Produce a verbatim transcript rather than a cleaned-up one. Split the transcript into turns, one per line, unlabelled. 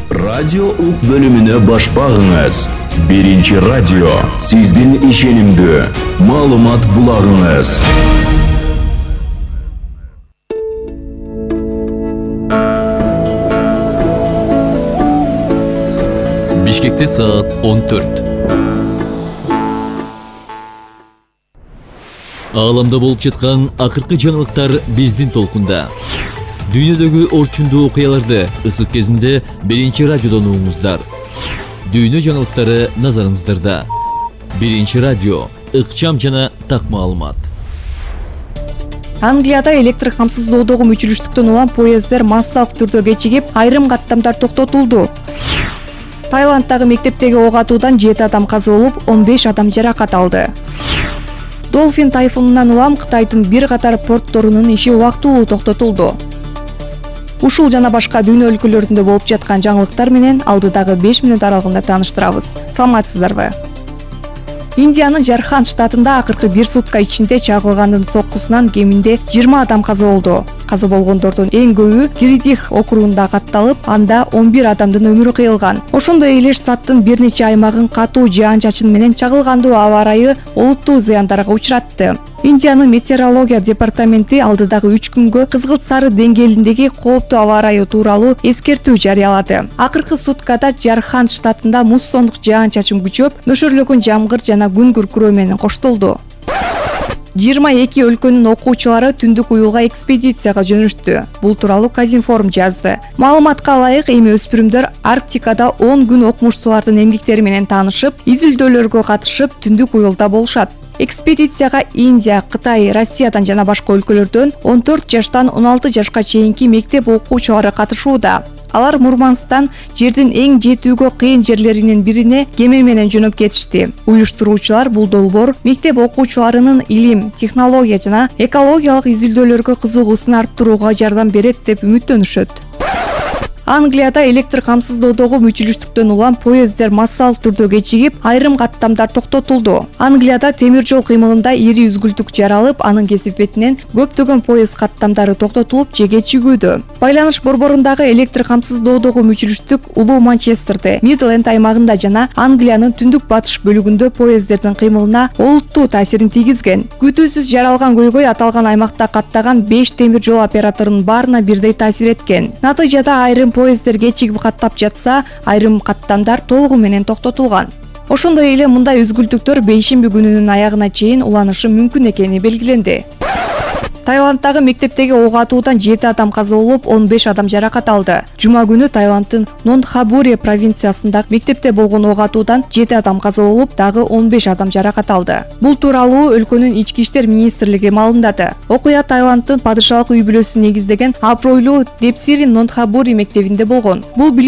Радио ук бөлүмүнө баш багыңыз. Биринчи радио сиздин ишенимдүү маалымат булагыңыз.
Бишкекте саат он төрт. Ааламда болуп жаткан акыркы жаңылыктар биздин толкунда. Дүйнөдөгү орчундуу окуяларды ысык кезинде биринчи радиодон угуңуздар. Дүйнө жаңылыктары назарыңыздарда. Биринчи радио, ыкчам жана так маалымат.
Англияда электр камсыздоодогу мүчүлүштүктөн улам поезддер массалык түрдө кечигип, айрым каттамдар токтотулду. Таиланддагы мектептеги ок атуудан жети адам каза болуп, он беш адам жаракат алды. Долфин тайфунунан улам Кытайдын бир катар портторунун иши убактылуу токтотулду. Ушул жана башка дүйнө өлкөлөрүндө болуп жаткан жаңылыктар менен алдыдагы беш мүнөт аралыгында тааныштырабыз. Саламатсыздарбы? Индиянын Жарханд штатында акыркы бир сутка ичинде чагылгандын соккусунан кеминде жыйырма адам каза болду. Каза болгондордун эң көбү Гиридих округунда катталып, анда он бир адамдын өмүрү кыйылган. Ошондой эле штаттын бир нече аймагын катуу жаан-чачын менен чагылгандуу аба ырайы олуттуу зыяндарга учуратты. Индиянын метеорология департаменти алдыдагы үч күнгө кызгылт сары деңгээлиндеги кооптуу аба ырайы тууралуу эскертүү жарыялады. Акыркы суткада Жарханд штатында муссондук жаан-чачын күчөп, нөшөрлөгөн жамгыр жана күн күркүрөө менен коштолду. жыйырма эки өлкөнүн окуучулары түндүк уюлга экспедицияга жөнөштү. Бул тууралуу Казинформ жазды. Маалыматка ылайык, эми өспүрүмдөр Арктикада он күн окумуштуулардын эмгектери менен таанышып, изилдөөлөргө катышып, түндүк уюлда болушат. Экспедицияга Индия, Кытай, Россиядан жана башка өлкөлөрдөн он төрт жаштан он алты жашка чейинки мектеп окуучулары катышууда. Алар Мурманстан жердин эң жетүүгө кыйын жерлеринин бирине кеме менен жөнөп кетишти. Уюштуруучулар бул долбоор мектеп окуучуларынын илим, технология жана экологиялык изилдөөлөргө кызыгуусун арттырууга жардам берет деп үмүттөнүшөт. Англияда электр камсыздоодогу мүчүлүштүктөн улам поезддер массалык түрдө кечигип, айрым каттамдар токтотулду. Англияда темир жол кыймылында ири үзгүлтүк жаралып, анын кесипетинен көптөгөн поезд каттамдары токтотулуп же кечигүүдө. Байланыш борборундагы электр камсыздоодогу мүчүлүштүк улуу Манчестерде, Мидленд аймагында жана Англиянын түндүк батыш бөлүгүндө поезддердин кыймылына олуттуу таасирин тийгизген. Күтүүсүз жаралган көйгөй аталган аймакта каттаган беш темир жол операторунун баарына бирдей таасир эткен. Натыйжада айрым поезддер кечигип каттап жатса, айрым каттамдар толугу менен токтотулган. Ошондой эле мындай үзгүлтүктөр бейшемби күнүнүн аягына чейин уланышы мүмкүн экени белгиленди. Таиланддагы мектептеги ок атуудан жети адам каза болуп, он беш адам жаракат алды. Жума күнү Таиланддын Нонтхабури провинциясындагы мектепте болгон ок атуудан жети адам каза болуп, дагы он беш адам жаракат алды. Бул тууралуу өлкөнүн ички иштер министрлиги маалымдады. Окуя Таиланддын падышалык үй бүлөсү негиздеген абройлуу Депсири Нонтхабури мектебинде болгон. Бул билим